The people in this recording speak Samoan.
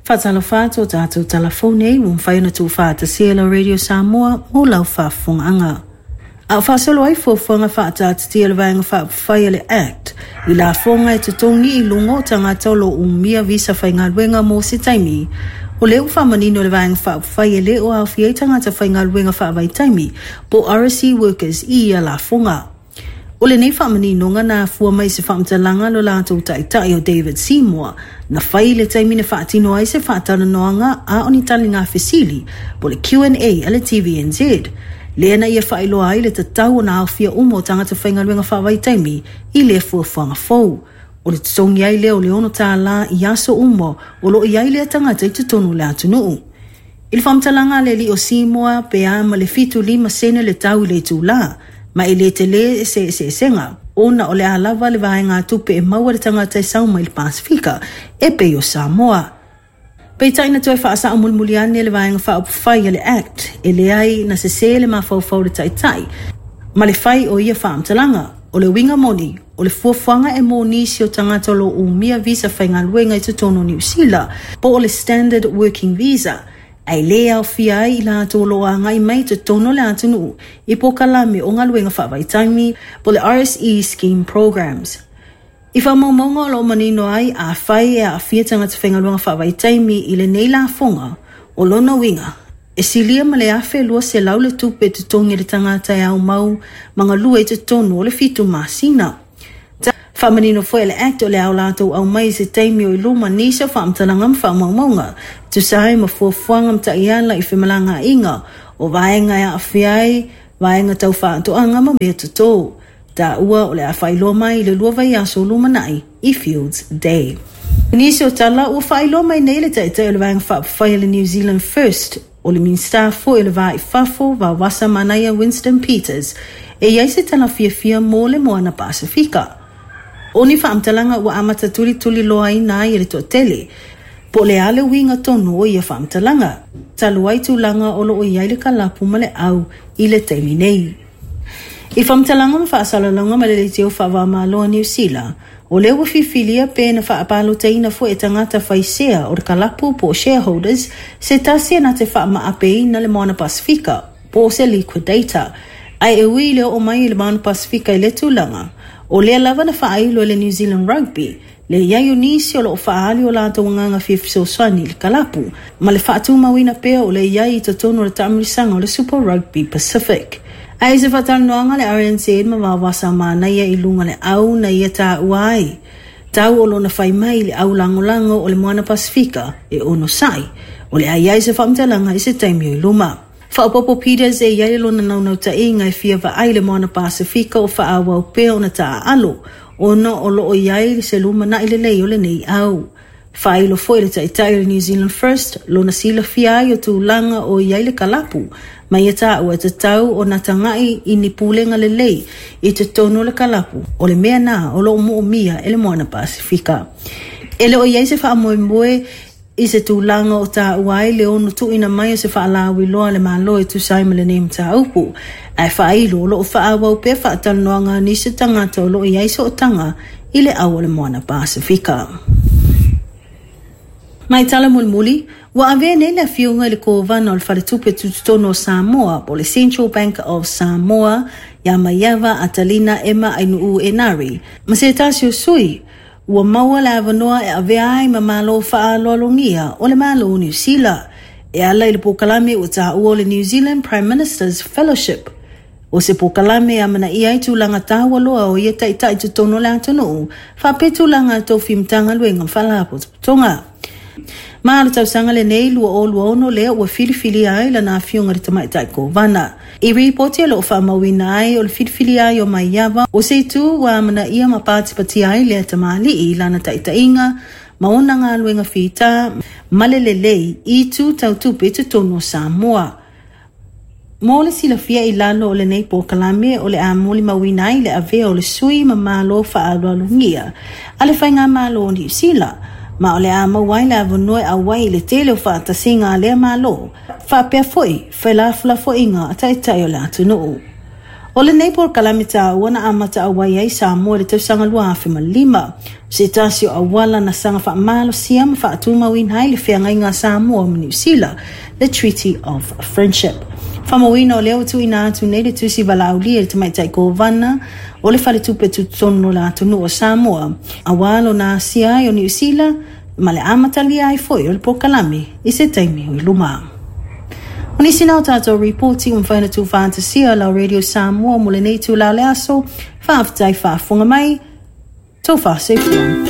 Faatalofa atu o tatou talafou nei ua mafai ona tuufaatasia e lau Radio Samoa mo lau faafofogaaga. A o faasolo ai fuafuaga faataatitia a le Vaega Faaupufai a le Act i lafoga e totogi i luga o tagata o lo o umia visa faigaluega mo se taimi, o lea ua faamanino e le Vaega Faaupufai e le o aofia ai tagata faigaluega faavaitaimi po o RSE workers i ia lafoga. O lenei faamaninoga na afua mai i se faamatalaga a lo latou taitai o David Seymour na fai i le taimi na faatino ai se faatalanoaga a o ni taliga fesili po o le Q&A a le TVNZ, lea na ia faailoa ai le tatau ona aofia uma o tagata faigaluega faavaitaimi i lea fuafuaga fou. O le totogi ai lea o le $6 i aso uma o lo o i ai lea tagata i totonu o le atunuu. I le faamatalaga a le alii o Seymour, pe a ma le 75 sene le tau i le itulā, ma e le telē se eseesega, ona o le a lava le vaegatupe e maua e le tagata e sau mai le Pasefika, e pei o Samoa. Peitai na toe faasao mulimuli ane le Vaega Faaupufai a le Act, e leai na sesē le mafaufau o le Taitai ma le fai o ia faamatalaga. O le uiga moni, o le fuafuaga e mo nisi o tagata o lo o umia visa faigaluega i totonu o Niu Sila, po o le Standard Working Visa, ae le aofia ai i latou o lo o agai mai i totonu o le atunuu i polokalame o galuega faavaitaimi, po o le RSE Scheme Programmes. I faamaumauga o lo o manino ai, afai e aafia tagata faigaluega faavaitaimi i lenei lafoga, o lona uiga, e silia ma le $1,200 le tupe e totogi e le tagata e aumau ma galue i totonu o le 7 masina. Faamanino foi e le Act o le a o latou aumai i se taimi o i luma nisi o faamatalaga ma faamaumauga e tusa ai ma fuafuaga ma taiala i femalagaaiga o vaega e aafia ai vaega tau faatoaga ma mea toto. Taua o le a faailoa mai i le 2 vaiaso lumanai i Fields Day. I nisi o tala, ua faailoa mai nei le Taitai o le Vaega Faaupufai a le New Zealand First, o le Minisita foi o le Va i Fafo, Vaovasa Manaia Winston Peters, e i ai se tala fiafia mo le Moana Pasefika. O ni faamatalaga ua amata tulituliloaina ai e le toatele, po o le a le uiga tonu o ia faamatalaga, talu ai tulaga o lo o i ai le kalapu ma le au i le taimi nei. I faamatalaga ma faasalalauga ma le leitio faava-o-Malo a Niu Sila, o lea ua filifilia pe na faapalotaina foi e tagata fai sea o le kalapu po o shareholders se tasi e na te faamaapeina le Moana Pasefika po o se liquidator. Ae e ui i le oo mai i le Moana Pasefika i lea tulaga, o lea lava na faailo e le New Zealand Rugby le i ai o nisi o lo o faaali o latou agaga fia fesoasoani i le kalapu, ma le faatumauina pea o le i ai i totonu o le taamilosaga o le Super Rugby Pacific. Ae i se faatalanoaga a le RNZ ma Vaovasa Manaia i luga le au na ia taua ai, tau o lona fai mai i le au lagolago o le Moana Pasefika e onosai, o le a i ai se faamatalaga i se taimi o i luma. Faaopoopo Peters e i ai lona naunautaiga e fia vaai le Moana Pasefika o faaauau pea ona taaalo ona o lo o i ai se lumanai lelei o lenei au. Faailo foi le Taitai o le New Zealand First lona silafia ai o tulaga o i ai le kalapu ma ia taua e tatau ona tagai i ni pulega lelei i totonu o le kalapu o le mea na o lo o moomia e le Moana Pasefika. E le o i ai se faamoemoe I se tulaga o taua ai le ono tuuina mai o se faalauiloa a le Malo e tusa ai ma lenei mataupu, ae faailo o lo o faaauau pea faatalanoaga a nisi o tagata o lo o i ai sootaga i le au o le Moana Pasefika. Mai tala mulimuli, ua avea nei le afioga i le Kovana o le Faletupe Tutotonu o Samoa po o le Central Bank of Samoa iā Maiava Atalina Emma Ainuu Enari ma se tasi o sui Ua maua le avanoa e avea ai ma Malo faaaloalogia o le Malo o Niu Sila e ala i le polokalame ua taua o le New Zealand Prime Minister's Fellowship. O se polokalame e amanaia ai tulaga taua loa o ia taitai totonu o le atunuu faapea tulaga a tofi Matagaluega ma Faalapotopotoga. Ma o le tausaga lenei 2026 lea ua filifilia ai lana afioga i le Tamaitai Kovana. I ripoti o lo o faamauina ai o le filifilia ai o Maiava o se itu ua amanaia ma patipatia ai lea tamalii i lana taitaiga ma ona galuega fita ma le lelei i itu tau tupe i totonu o Samoa. Mo le silafia i lalo o lenei polokalame o le a molimauina ai le avea o le sui ma Malo faaaloalogia a le Faigamalo o Niu Sila, ma o le a maua ai le avanoa e auai i le tele o faatasiga a lea Malo, faapea foi felafolafoaiga a Taitai o le atunuu. O lenei polokalame taua na amata auai ai Samoa i le tausaga 2005, o se tasi o auala na saga faamalosia ma faatumauina ai le feagaiga a Samoa ma Niu Sila, le Treaty of Friendship. Faamauina o lea ua tuuina atu nei le tusi valaaulia i le Tamaitai Kovana o le Faletupe Tutotonu o le Atunuu o Samoa, aua lona asia ai o Niu Sila ma le amatalia ai foi o le polokalame i se taimi o i luma. O nisi na o tatou ripoti ua mafai ona tuufaatasia lau Radio Samoa mo lenei itula o le aso. Faafetai faafofoga mai. Tofa soifua.